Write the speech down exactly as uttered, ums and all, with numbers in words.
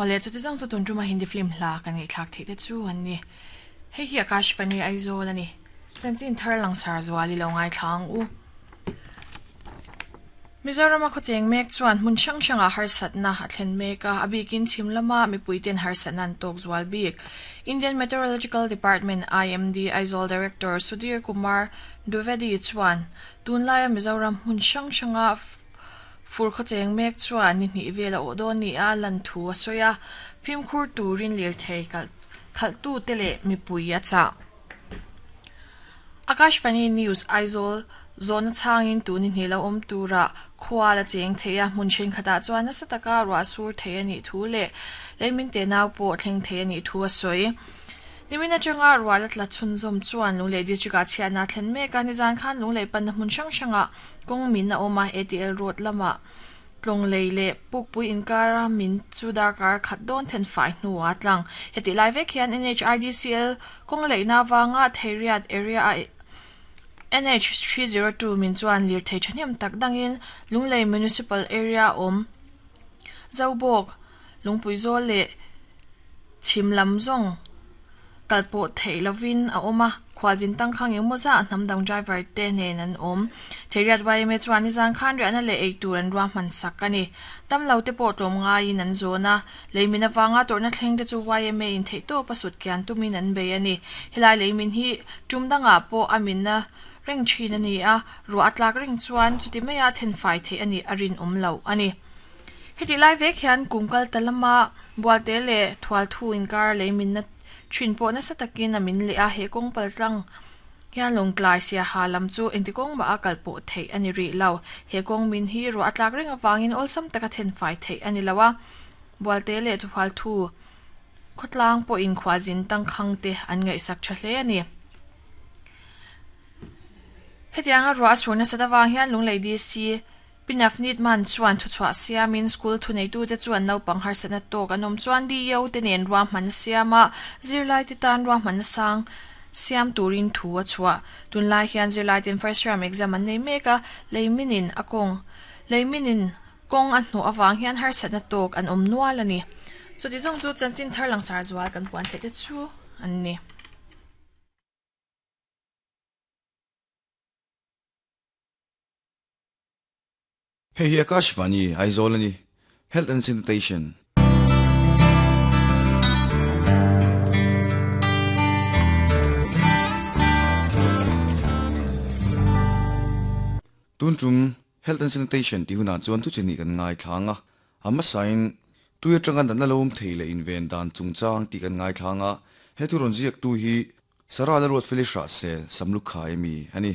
Hole chu ti zong chu tun tuma Hindi film hla kan ngai thlak thei te chu an ni. Hei hi Akashvani Aizawl ani. Chanchin thar lang sar zuali lo ngai thlang u. Mizoram a khawcheng mek chuan hmun hrang hranga harsatna a thlen mek a, a bikin chhim lama mipuiten harsatna an tawk zual bik. Indian Meteorological Department I M D Aizawl Director Sudhir Kumar Dwivedi chuan tunlaia Mizoram hmun hrang hranga fur khawcheng mek chuan ni hnih vel a awh dawn ni a lan thu a sawi a, fimkhur turin lir thei khalh tu te leh mipui a chah. Akashvani News Aizawl zona changin tu ni hni lo awm tura khua la cheng thei a hmun then khata chuan nasa taka ruah sur thei ani thu le leimin te nau pawh thleng thei ani thu a sawi. Nimina changa ruah la tla chhun zawm chuan Lunglei district ah chhiatna thlen mek a nizan khan Lunglei panna hmun hrang hranga kawng min a awm a A T L road lama tlawng lei le pukpui inkara min chu darkar khat dawn then fai hnuah tlang. Heti lai vek hian N H I D C L kawng leihna wanga Theiriat area a N H three zero two min chuan lir thei thahnem tak dangin Lunglei Municipal Area awm Zobawk Lungpui zawl leh chhim lam zawng kalpawh theih lovin a awm a khuazin tangkhang engemaw za a hnam dang driver te nen an awm. Theiriat Y M A chuan nizan khan riahna leh ei tur an ruah hman sak ani. Tam lo te pawh tlawm ngaiin an zawn a, leimin awanga tawrhna thleng te chu Y M A in theih tawp a sut kian tumin an bei ani. Helai leimin hi tum dangah pawh a minna reng thin ani a, ruah a tlak reng chuan chuti maia then fai theih ani a rin awm lo ani. Heti lai vek hian kumkal talama bualte leh thual thu inkar leimin na thin pawh nasa takin a min leh a he kawng pal tlang hian lawngtlai sia ha lam chu engti kawng mah a kal pawh theih ani rih lo. He kawng min hi ruah a tlak reng awangin awlsam taka then fai theih ani lo a, bualte leh thual thu khawtlang pawh in khuazin tangkhang te an ngaihsak tha hle ani. Hetianga ruah a sur nasa awang hian Lunglei D C Pinafnit man chuan thu chhuah siamin school thu nei tu te chuan naupang harsatna tawk an awm chuan D O te nen ruah hman siama zirlai te tan ruah hman sang siam turin thu a chhuah. Tunlai hian zirlai ten first term exam an nei mek a, leiminin a kawng leiminin kawng a hnuh awang hian harsatna tawk an awm nual ani. Chuti zawng chu chanchin thar lang sar zual kan puan theih te chu an ni. Hei hi Akashvani Aizawl ani. Health and Sanitation. Tuntum Health and Sanitation ti huna chuan thu chini kan ngai thlanga ama sain tuya tanga dan lom theile inven dan chungchang ti kan ngai thlanga he thu ron ziak tu hi Sara la rot Felicia se samlu khai mi ani.